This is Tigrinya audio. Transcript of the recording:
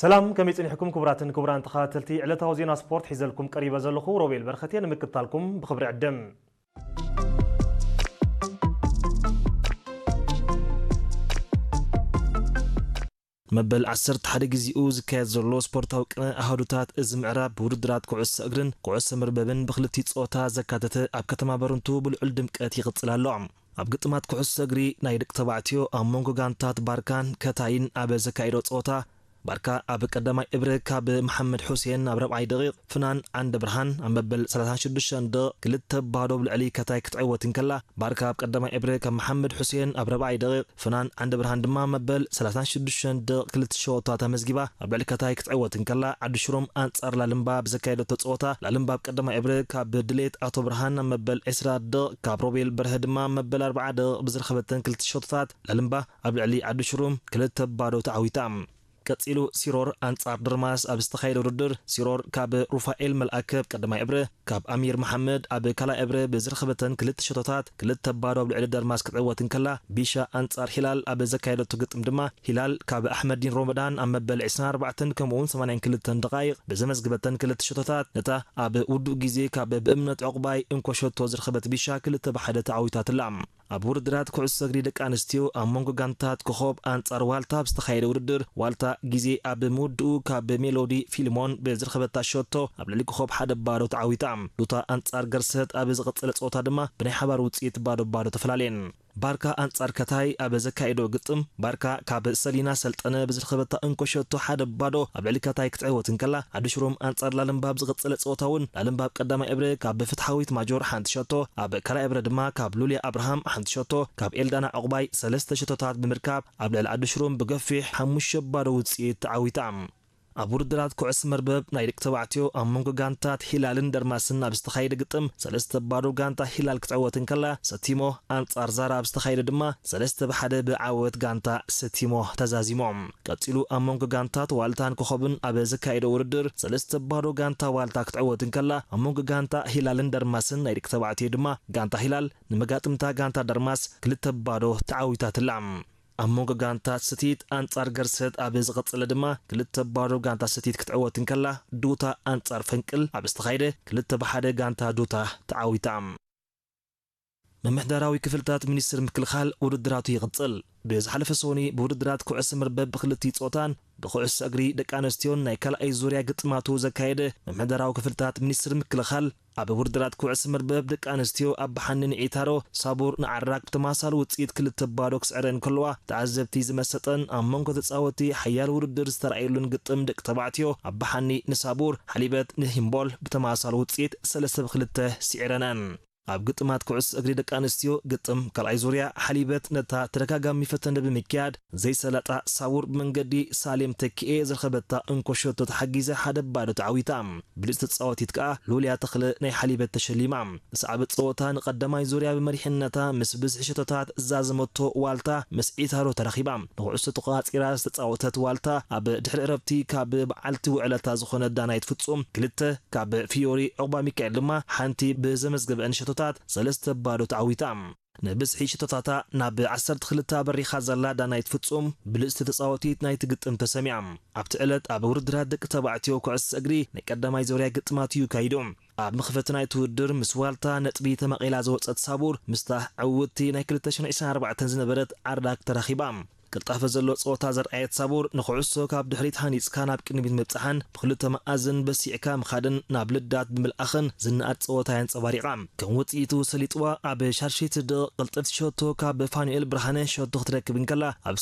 ሰላም፣ ከመይ ጸኒሕኩም ክቡራትን ክቡራን ተኸታተልቲ ዕለታዊ ዜና ስፖርት? ሒዘልኩም ቀሪበ ዘለኹ ሮቤል በረኸት እየ። ንምክትታልኩም ብኽብሪ ዕድም። መበል ዓሰርተ ሓደ ግዜኡ ዝካየድ ዘሎ ስፖርታዊ ቅነ ኣሃዱታት እዚ ምዕራብ ብውድድራት ኩዕሶ እግርን ኩዕሶ መርበብን ብኽልቲኡ ጾታ ዘካተተ ኣብ ከተማ በርንቱ ብልዑል ድምቀት ይቕጽል ኣሎ። ኣብ ግጥማት ኩዕሶ እግሪ ናይ ደቂ ተባዕትዮ ኣብ መንጎ ጋንታት ባርካን ከታይን ኣብ ዘካየዶ ጸወታ፣ ባርካ ኣብ ቀዳማይ እብረ ካብ መሓመድ ሑሴን ኣብ ራብዓይ ደቂቕ፣ ፍናን ዓንደ ብርሃን ኣብ መበል ሰላሳን ሽዱሽተን ደቂቕ ክልተ ባዶ ኣብ ልዕሊ ከታይ ክትዕወት እንከላ፣ ባርካ ኣብ ቀዳማይ እብረ ካብ መሓመድ ሑሴን ኣብ ራብዓይ ደቂቕ፣ ፍናን ዓንደ ብርሃን ድማ መበል ሰላሳን ሽዱሽተን ደቂቕ ክልተ ሸወታት ኣመዝጊባ ኣብ ልዕሊ ከታይ ክትዕወት እንከላ፣ ዓዲ ሽሮም ኣንጻር ላልምባ ብዘካየደቶ ጸወታ፣ ላልምባ ኣብ ቀዳማይ እብረ ካብ ድሌት ኣቶ ብርሃን ኣብ መበል ዕስራ ደቂቕ፣ ካብ ሮቤል በርሀ ድማ ኣብ መበል ኣርብዓ ደቂቕ ብዝረኸበተን ክልተ ሸወታት፣ ላልምባ ኣብ ልዕሊ ዓዲ ሽሮም ክልተ ባዶ ተዓዊታ። ቀጺሉ ሲሮር ኣንጻር ደርማስ ኣብ ዝተኻየደ ውድድር፣ ሲሮር ካብ ሩፋኤል መልኣከ ኣብ ቀዳማይ እብረ፣ ካብ ኣሚር መሓመድ ኣብ ካልኣይ እብረ ብዝረኸበተን ክልተ ሸቶታት ክልተ ባዶ ኣብ ልዕሊ ደርማስ ክትዕወት እንከላ፣ ቢሻ ኣንጻር ሂላል ኣብ ዘካየደቶ ግጥም ድማ፣ ሂላል ካብ ኣሕመዲን ሮመዳን ኣብ መበል ዕስራን ኣርባዕተን ከምኡውን ሰማንያን ክልተን ደቓይቕ ብዘመዝግበተን ክልተ ሸቶታት፣ ነታ ኣብ ውዱእ ግዜ ካብ ብእምነት ዕቑባይ እንኮ ሸቶ ዝረኸበት ቢሻ ክልተ ብሓደ ተዓዊታትላ። ኣብ ውድድራት ኩዕሶ እግሪ ደቂ ኣንስትዮ ኣብ መንጎ ጋንታት ኮኾብ ኣንጻር ዋልታ ኣብ ዝተኻየደ ውድድር፣ ዋልታ ግዜ ኣብ ምውድኡ ካብ ሜሎዲ ፊልሞን ብዝረኸበታ ሸቶ ኣብ ልዕሊ ኮኾብ ሓደ ባዶ ተዓዊታ። ዱታ ኣንጻር ገርሰት ኣብ ዝቐጸለ ጸወታ ድማ ብናይ ሓባር ውጽኢት ባዶ ባዶ ተፈላለየን። ባርካ ኣንጻር ከታይ ኣብ ዘካየዶ ግጥም፣ ባርካ ካብ ሰሊና ሰልጠነ ብዝረኸበታ እንኮ ሸቶ ሓደ ባዶ ኣብ ልዕሊ ከታይ ክትዕወት እንከላ፣ ዓዲ ሽሮም ኣንጻር ላልምባ ኣብ ዝቐጸለ ጸወታ እውን ላልምባ ኣብ ቀዳማይ እብረ ካብ ፍትሓዊት ማጆር ሓንቲ ሸቶ፣ ኣብ ካልኣይ እብረ ድማ ካብ ሉልያ ኣብርሃም ሓንቲ ሸቶ፣ ካብ ኤልዳና ዕቑባይ ሰለስተ ሸቶታት ብምርካብ ኣብ ልዕሊ ዓዲ ሽሮም ብገፊሕ ሓሙሽተ ባዶ ውጽኢት ተዓዊታ። ኣብ ውድድራት ኩዕሶ መርበብ ናይ ደቂ ተባዕትዮ ኣብ መንጎ ጋንታት ሂላልን ደርማስን ኣብ ዝተኻየደ ግጥም ሰለስተ ባዶ ጋንታ ሂላል ክትዕወት እንከላ፣ ሰቲሞ ኣንጻር ዛራ ኣብ ዝተኻየደ ድማ ሰለስተ ብሓደ ብዓወት ጋንታ ሰቲሞ ተዛዚሞም። ቀጺሉ ኣብ መንጎ ጋንታት ዋልታን ኮኾብን ኣብ ዘካየደ ውድድር ሰለስተ ባዶ ጋንታ ዋልታ ክትዕወት እንከላ፣ ኣብ መንጎ ጋንታ ሂላልን ደርማስን ናይ ደቂ ተባዕትዮ ድማ ጋንታ ሂላል ንመጋጥምታ ጋንታ ደርማስ ክልተ ባዶ ተዓዊታትላ። ኣብ መንጎ ጋንታት ስቲት ኣንጻር ገርሰት ኣብ ዝቐጸለ ድማ ክልተ ባዶ ጋንታ ስቲት ክትዕወት እንከላ፣ ዱታ ኣንጻር ፈንቅል ኣብ ዝተኻየደ ክልተ ብሓደ ጋንታ ዱታ ተዓዊታ። ምምሕዳራዊ ክፍልታት ሚኒስትሪ ምክልኻል ውድድራቱ ይቕጽል። ብዝሓለፈ ሰኑይ ብውድድራት ኩዕሶ መርበብ ብክልቲኡ ጾታን ብኩዕሶ እግሪ ደቂ ኣንስትዮን ናይ ካልኣይ ዙርያ ግጥማቱ ዘካየደ ምምሕዳራዊ ክፍልታት ሚኒስትሪ ምክልኻል፣ ኣብ ውድድራት ኩዕሶ መርበብ ደቂ ኣንስትዮ ኣብ ብሓኒ ንዒታሮ ሳቡር ንዓራግ ብተመሳሳሊ ውጽኢት ክልተ ባዶ ክስዕረን ከለዋ፣ ተዓዘብቲ ዝመሰጠን ኣብ መንጎ ተጻወትቲ ሓያል ውድድር ዝተራእየሉን ግጥም ደቂ ተባዕትዮ ኣብ ብሓኒ ንሳቡር፣ ሓሊበት ንሂምቦል ብተመሳሳሊ ውጽኢት ሰለስተ ብክልተ ስዒረነን። ኣብ ግጥማት ኩዕሶ እግሪ ደቂ ኣንስትዮ ግጥም ካልኣይ ዙርያ ሓሊበት ነታ ተደጋጋሚ ፈተነ ብምክያድ ዘይሰላጣ ሳቡር ብመንገዲ ሳሌም ተኪኤ ዝረኸበታ እንኮ ሸቶ ተሓጊዘ ሓደ ባዶ ተዓዊታ። ብልጽቲ ተጻዋቲት ከኣ ሉልያ ተኽለ ናይ ሓሊበት ተሸሊማ። ዝሰዓበ ጸወታ ንቐዳማይ ዙርያ ብመሪሕነታ ምስ ብዝሒ ሸቶታት ዛዘመቶ ዋልታ ምስ ዒታሮ ተራኺባ። ንኹዕሶ ተቖጻጺራ ዝተጻወተት ዋልታ ኣብ ድሕሪ ዕረፍቲ ካብ በዓልቲ ውዕለታ ዝኾነት ዳናይት ፍጹም ክልተ፣ ካብ ፊዮሪ ዑቕባ ሚካኤል ድማ ሓንቲ ብዘመዝገበአን ሸቶታት ሰለስተ ባዶ ተዓዊታ። ንብዝሒ ሽቶታታ ናብ ዓሰርተ ክልተ ኣበሪኻ ዘላ ዳናይት ፍጹም፣ ብልጽቲ ተጻወቲት ናይቲ ግጥም ተሰሚያ። ኣብቲ ዕለት ኣብ ውድድራት ደቂ ተባዕትዮ ኩዕሶ እግሪ ናይ ቀዳማይ ዙርያ ግጥማት እዩ ካይዱ። ኣብ መኽፈቲ ናይቲ ውድድር ምስ ዋልታ ነጥቢ ተመቒላ ዝወጸት ሳቡር፣ ምስታ ዕውትቲ ናይ ክልተ ሽሕን ዕስራን ኣርባዕተን ዝነበረት ዓርዳክ ተራኺባ። ቅልጣፈ ዘሎ ጸወታ ዘርኣየት ሳቡር፣ ንኹዕሶ ካብ ድሕሪት ሃኒጽካ ናብ ቅድሚት ምብጻሕን ብኽልተ መኣዝን በሲዕካ ምኻድን ናብ ልዳት ብምልኣኽን ዝነኣድ ጸወታ የንጸባሪቓ። ከም ውጽኢቱ ሰሊጥዋ ኣብ ሻድሸይቲ ደቕ ቅልጥፍቲ ሸቶ ካብ ፋኑኤል ብርሃነ ሸቶ ክትረክብ እንከላ፣ ኣብ